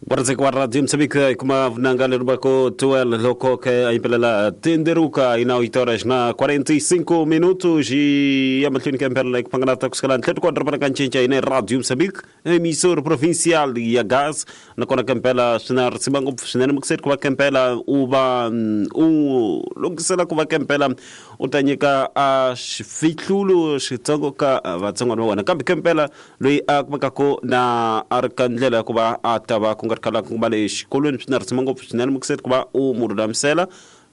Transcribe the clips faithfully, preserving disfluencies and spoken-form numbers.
Waradzeka wa Radio Moçambique hi kuma vunanga leri va ko twelve loko ke a yimbelela Tenderuka i na oito horas na quarenta e cinco minutos e ya mahlweni ka mpela ku panganata kusukela ntlhelo kwa doroba ra Ncinca ine Radio Moçambique, emissora provincial ya Gaza. Nakona ka mpela swi na risima ngopfu swinene mukuseri ku va ka mpela u va u lunghisela ku va ka mpela u ta nyika a xifihlulo xitsongo ka vatsongwana va wena, kambe ka mpela loyi a kumekaka na a ri ka ndlela ya ku va a ta va ku nga ri khale ku va le xikolweni swi na risima ngopfu swinene mukuseri ku va u mu lulamisela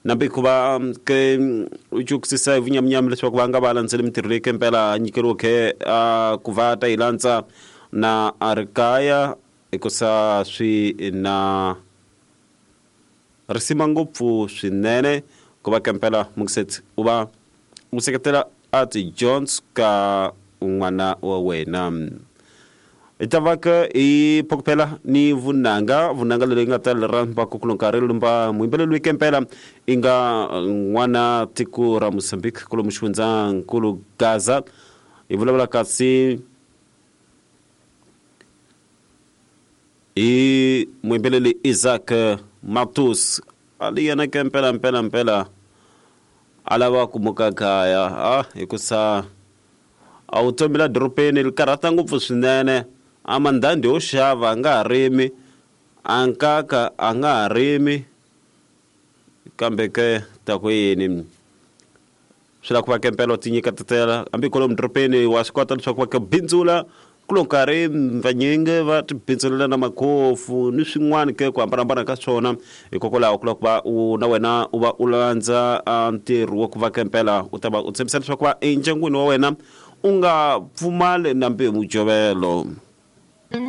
nambe ku va ke u cukisisa hi vunyaminyami leswaku va nga va landzeli mintirho leyi ke mpela nyikeriweke a ku va ta yi landza na a ri kaya, hikusa swi na risima ngopfu swinene ku va ke mpela mukuseti u va u seketela a tidyondzo ka n'wana wa wena. Hi ta va ke hi phokopela ni vunanga, vunanga leri nga ta lera va ku kulo nkarhi lumba muyimbeleli loyi ke mpela i nga n'wana tiko ra Mozambique kulo muxifundzankulu Gaza. Hi vulavula kasi hi muyimbeleli Isaac Matos, a li yena ke mpela mpela mpela a lava ku muka kaya a hikusa a vutomi la dorobeni ri karhata ngopfu swinene. A mandhandhi yo xava a nga ha rimi, a nkaka a nga ha rimi, kambe ke ta ku yini swi lava ku va ke mpela u ti nyiketetela hambi kwalomu dorobeni wa swi kota leswaku va ke bindzula kulo nkarhi vanyingi va ti bindzulela na makhofu ni swin'wana ke ku hambanahambana ka swona. Hikokwalaho ku lava ku va u na wena u va u landza ntirho wa ku va ke mpela u ta va u tshembisa leswaku va endyangwini wa wena u nga pfumali nambi mujovelo.